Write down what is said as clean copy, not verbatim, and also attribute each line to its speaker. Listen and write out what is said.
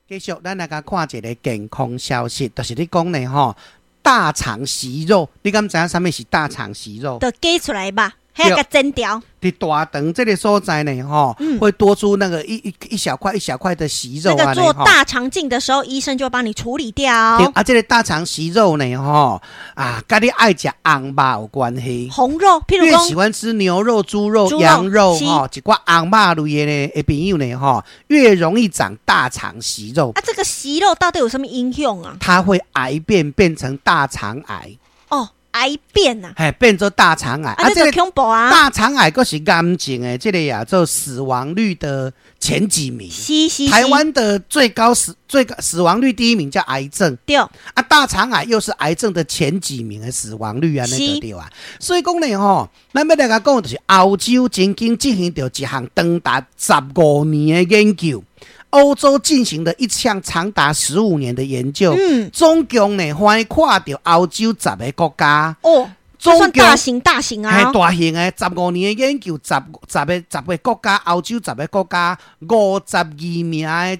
Speaker 1: 繼續，咱來共看一個健康消息，就是咧講呢吼，大腸息肉，你敢知影啥物是大腸息肉？
Speaker 2: 就擠出來吧，彼共剪掉。
Speaker 1: 佇大腸這個所在呢，吼，會多出那個一小塊一小塊的息肉。
Speaker 2: 那個做大腸鏡的時候，醫生就會幫你處理掉。
Speaker 1: 啊，這個大腸息肉呢，吼，啊，佮你愛食紅肉有關係。
Speaker 2: 紅肉，譬如講，
Speaker 1: 越喜歡吃牛肉、豬肉、羊肉，吼，一寡紅肉類的呢，的朋友呢，吼，越容易長大腸息肉。
Speaker 2: 啊，這個息肉到底有什麼影響啊？
Speaker 1: 它會癌變，變成大腸癌。
Speaker 2: 哦。癌變啊，
Speaker 1: 嘿，變做大腸癌。
Speaker 2: 啊，這個恐怖啊！
Speaker 1: 大腸癌閣是癌症的，這個呀，做死亡率的前幾名。
Speaker 2: 是是。
Speaker 1: 台灣的最高死亡率第一名叫癌症。
Speaker 2: 對。
Speaker 1: 啊，大腸癌又是癌症的前幾名的死亡率啊，那個對啊。所以講呢，吼，咱欲來共講，就是歐洲曾經進行著一項長達十五年的研究。歐洲進行了一項長達15年的研究，總共呢翻看著歐洲十个國家，
Speaker 2: 哦，算大型大型啊，
Speaker 1: 係大型的十五年的研究，十個國家，歐洲十個國家，52名的